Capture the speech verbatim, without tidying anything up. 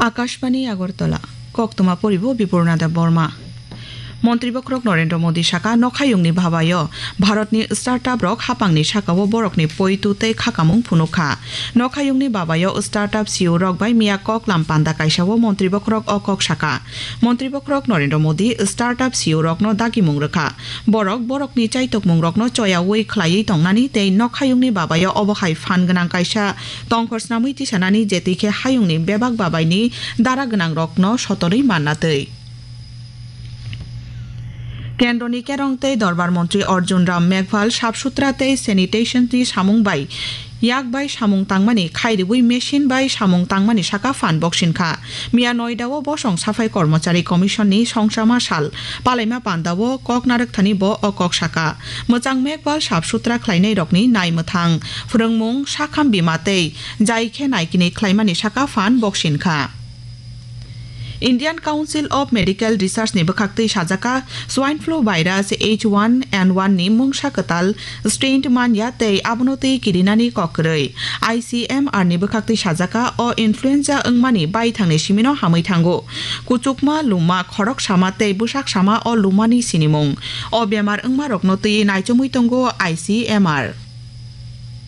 Akashbani Agartala, koktwma poribo Bipurna Debbarma. Montri bokhorok Narendra Modi saka, nokhayungni babayo Bharatni startup rok hapangni sakao borokni poitu tei khakamung phunukha. Nokhayungni babayo startup C E O rok bai miya koklam panda kaisao montri bokhorok o kok saka. Montri bokhorok Narendra Modi startup C E O rokno dagimung rwkha. Borok borokni chaitokmungrokno choyaui khlaiwi tongnani tei nokhayungni babayo obo hai phan gwnang kaisa tongkhor snamwi tisanani, jetwi khe hayungni bebak babaini dara gwnangrokno sotorwi manna twi. Kendroni kerong tei dorbar montri Arjun Ram Meghwal sap sutra tei sanitation ni samung bai yak bai samung tangmani khairibwi machine bai samung tangmani saka phan boksin kha. Miya Noida o bosong saphai kormochari commission ni songchama sal palaima panda o kok narwkthani bo o kok saka. Mwchang Meghwal sap sutra khlainai rokni nai mwthang, phwrwngmung, sakham bima tei jai khe naikini khlaimani saka phan boksin kha. Indian Council of Medical Research ni bwkhaktwi sajaka swine flu virus H one N one ni mungsa kwtal strain manya tei abono twi kirinani kok kwrwi. I C M R ni bwkhaktwi sajaka o influenza wngmani baithangni simino hamwi thango. Kuchukma, luma, khorok sama tei bwsak sama o lumani sinimung. O bemar wngmarokno twi naichomwi tongo I C M R.